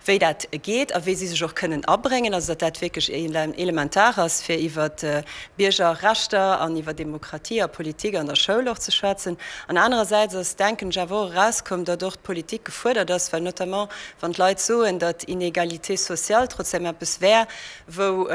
Wéi dat geet a wéi si sech och kënnen abréngen, also datt dat wierklech elementar ass, fir iwwer Biergerrechter an iwwer Demokratie a Politik an der Schoul och ze schwätzen. An anerersäits ass, denken ech, awer och erauskomm, datt och d'Politik gefuerdert ass, well notamment wann d'Leit soen, datt Inégalité sociale trotzdem eppes wär, wou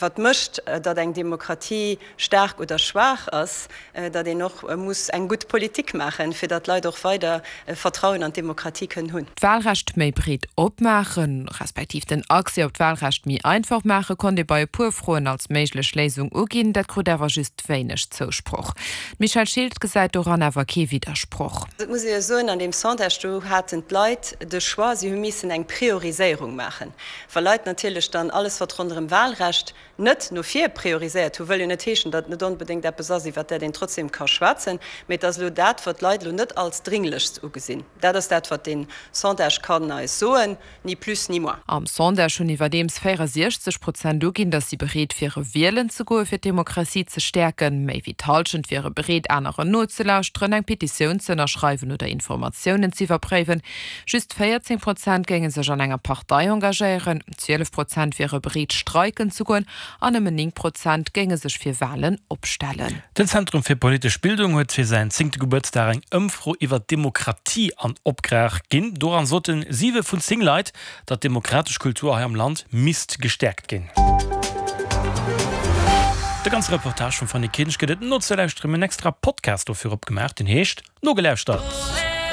wat mécht, datt eng Demokratie staark oder schwaach ass, datt een och muss eng gutt Politik maachen, fir datt d'Leit och weider Vertrauen an d'Demokratie kënnen hunn. D'Wahlrecht méi breet opmaachen, respektiv den Accès op d'Wahlrecht méi einfach maachen, konnt ee bei e puer Froen als méiglech Léisung uginn. Dat krut awer just wéineg Zousproch. D'Michèle Schilt gesäit doran awer kee Widdersproch. Et muss ee jo soen, an deem Sondage do haten d'Leit de Choix, si hu missen eng Prioriséierung maachen. Wa Leit natierlech dann alles, wat ronderëm Wahlrecht net no vir prioriséiert hu, wëll jo net heeschen, datt et net onbedéngt eppes ass, iwwert dat een trotzdem ka schwätzen, mee et ass elo dat, wat d'Leit elo net als dringlechst ugesinn. Dat ass dat, wat dee Sondage kann eis soen, ni plus ni moins. Am Sondage hunn iwwerdeems 64 Prozent uginn, datt si bereet wiere wielen ze goe fir d'Demokratie ze stäerken. Méi wéi d'Hallschent wiere bereet aneren nozelauschteren, eng Petitioun ze ënnerschreiwen oder Informatiounen z'iwwerpréiwen. Just 14 Prozent géinge sech an enger Partei engagéieren, 12 Prozent wiere bereet streiken ze goen an nëmmen 9 Prozent géinge sech fir Walen opstellen. Den Zentrum fir politesch Bildung huet fir säin zéngte Gebuertsdag eng Ëmfro iwwer d'Demokratie an Opgrag ginn. Doran sote 7 vun 10 Leit, datt d'demokratesch Kultur hei am Land misst gestäerkt ginn. De ganze Reportage vum Fanny Kinsch gëtt et nozelauschteren. Mir hunn en extra Podcast dofir opgemaach, deen heescht Nogelauschtert.